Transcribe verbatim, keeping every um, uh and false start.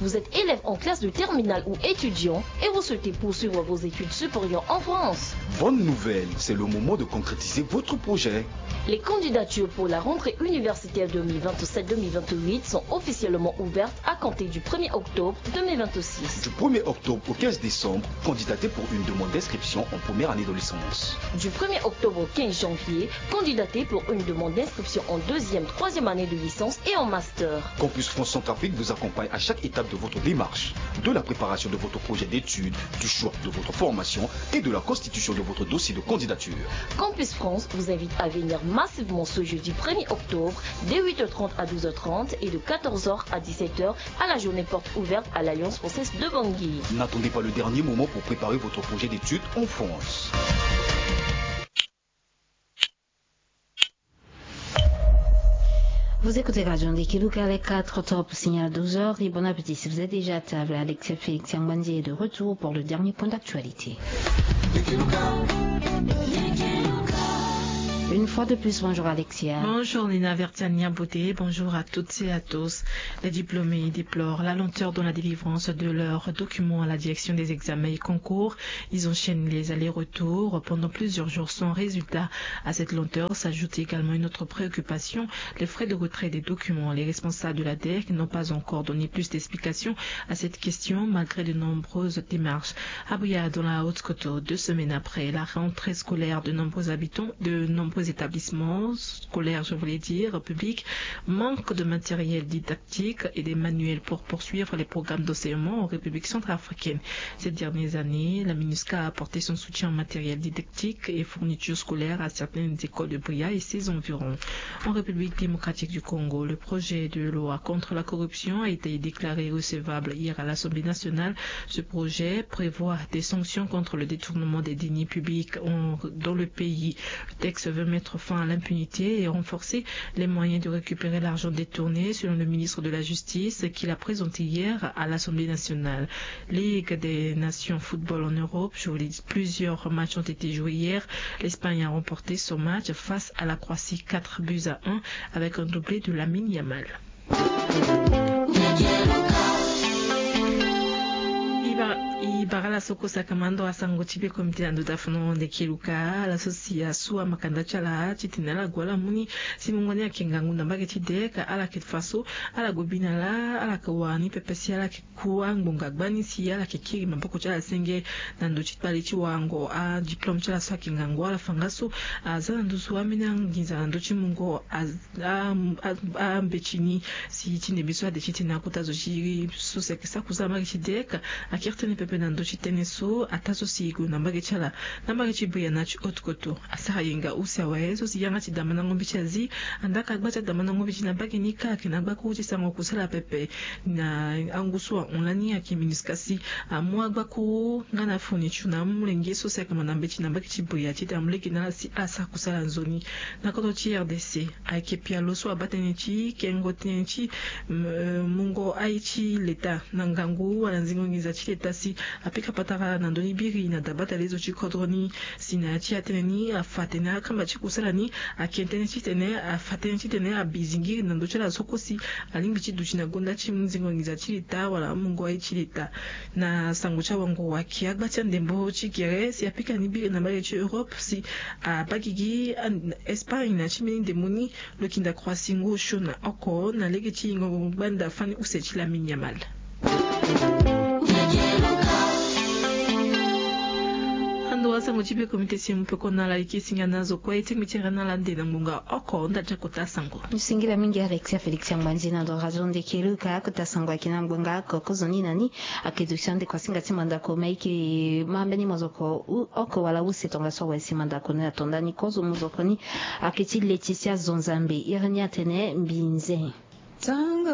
Vous êtes élève en classe de terminale ou étudiant et vous souhaitez poursuivre vos études supérieures en France. Bonne nouvelle, c'est le moment de concrétiser votre projet. Les candidatures pour la rentrée universitaire deux mille vingt-sept deux mille vingt-huit sont officiellement ouvertes à compter du premier octobre deux mille vingt-six. Du premier octobre au quinze décembre, candidatez pour une demande d'inscription en première année de licence. Du premier octobre au quinze janvier, candidatez pour une demande d'inscription en deuxième, troisième année de licence et en master. Campus France Centrafrique vous accompagne à chaque étape de votre démarche, de la préparation de votre projet d'études, du choix de votre formation et de la constitution de votre dossier de candidature. Campus France vous invite à venir massivement ce jeudi premier octobre, dès huit heures trente à douze heures trente et de quatorze heures à dix-sept heures, à la journée porte ouverte à l'Alliance française de Bangui. N'attendez pas le dernier moment pour préparer votre projet d'études en France. Vous écoutez Radio Ndekeluka, les quatre octobre, signal douze heures, et bon appétit si vous êtes déjà à table. Alexia Félix Yangbandier est de retour pour le dernier point d'actualité. Une fois de plus, bonjour Alexia. Bonjour Nina Vertiania Beauté, bonjour à toutes et à tous. Les diplômés déplorent la lenteur dans la délivrance de leurs documents à la direction des examens et concours. Ils enchaînent les allers-retours pendant plusieurs jours sans résultat. À cette lenteur s'ajoute également une autre préoccupation, les frais de retrait des documents. Les responsables de la DEC n'ont pas encore donné plus d'explications à cette question, malgré de nombreuses démarches. À Bouillard, dans la Haute-Côte, deux semaines après la rentrée scolaire, de nombreux habitants, de nombreux établissements scolaires, je voulais dire, publics, manquent de matériel didactique et des manuels pour poursuivre les programmes d'enseignement en République centrafricaine. Ces dernières années, la MINUSCA a apporté son soutien en matériel didactique et fourniture scolaire à certaines écoles de Bria et ses environs. En République démocratique du Congo, le projet de loi contre la corruption a été déclaré recevable hier à l'Assemblée nationale. Ce projet prévoit des sanctions contre le détournement des deniers publics en- dans le pays. Le texte veut mettre fin à l'impunité et renforcer les moyens de récupérer l'argent détourné, selon le ministre de la Justice, qui l'a présenté hier à l'Assemblée nationale. Ligue des Nations Football en Europe, je vous l'ai dit, plusieurs matchs ont été joués hier. L'Espagne a remporté son match face à la Croatie, quatre buts à un, avec un doublé de Lamine Yamal. I bara, i bara ala so kue saka mando asango ti be komite na ndo dafono Ndekeluka, ala so si asu amakanda ti ala titene ala gue ala mu ni si mungo ni ayeke ngangu na mbage ti DEC, ala yeke fa so ala gue bi na ala, ala yeke wara ni pepe si ala yeke ku angbonga gbani si ala yeke kiri maboko ti ala senge na ndo ti kpale ti warango adiplôme ti ala so ayeke ngangu. Ala fa nga so aza na nduzu ambeni anginza na ndö ti mungo a- a- a- ambeti ni si ti ndembe so ade titene akota zo ti so si ayeke sara kusala mbage ti DEC akiri tënë pepe na ndö ti tënë so ataa so si e gue na mbage ti ala na mbage ti Bria na ti Haute-Kotto. Asara yenga use awe so si yanga ti damandango mbeti azi andaa ka agba ti adamandango mbeti na mbage ni kâ ayeke na agbakuru ti sarango kusala pepe. Na angu so ahon lani ayeke MINUSCA si amu agbakuru nga na fourniture na amolenge so si ayeke ma na mbeti na mbage ti Bria titene amolenge na ala si asara kusala nzoni. Na kodro ti RDC ayeke pialo so abaa tënë ti kengo tënë ti mungo aye ti leta na ngangu wala nzingo nginza ti leta si apika patara na ndö ni biri na dabata lezo ti kodro ni. Si na ya ti atënë ni afa atene akamba ti kusala ni ake tënë titene afa tënë titene abi zingiri na ndö ti ala so kue si alingbi ti duti na gonda ti nzingo nginza ti leta wala amungo aye ti leta. Na sango ti awango ayeke agba ti andembo ti gere si apika ni biri na mbage ti Europe si abaa gigi Espagne na ti mbeni ndembo ni. Lo yeke nda Croatie ngu osio na oko na lege ti yingo gbanda fani use ti Lamine Yamal. Ando wasango ti be komite si e mu peko na ala e ke singa na azo kue e tingbi ti ere na ala ande na ngbonga oko nda ti akota sango. Singila mingi Alexia Félix Yangbanzi na ndo radio Ndekeluka. Akota sango ayeke na ngbonga oko kozoni na ni. Ayeke duti ande kua singa ti mandako ma e ke ma mbeni mozoko oko wala use tongaso awe si mandako ni ato ndani kozo mozoko ni. Ayeke ti Laetitia Zonzambe iri ni atene mbinze. Tango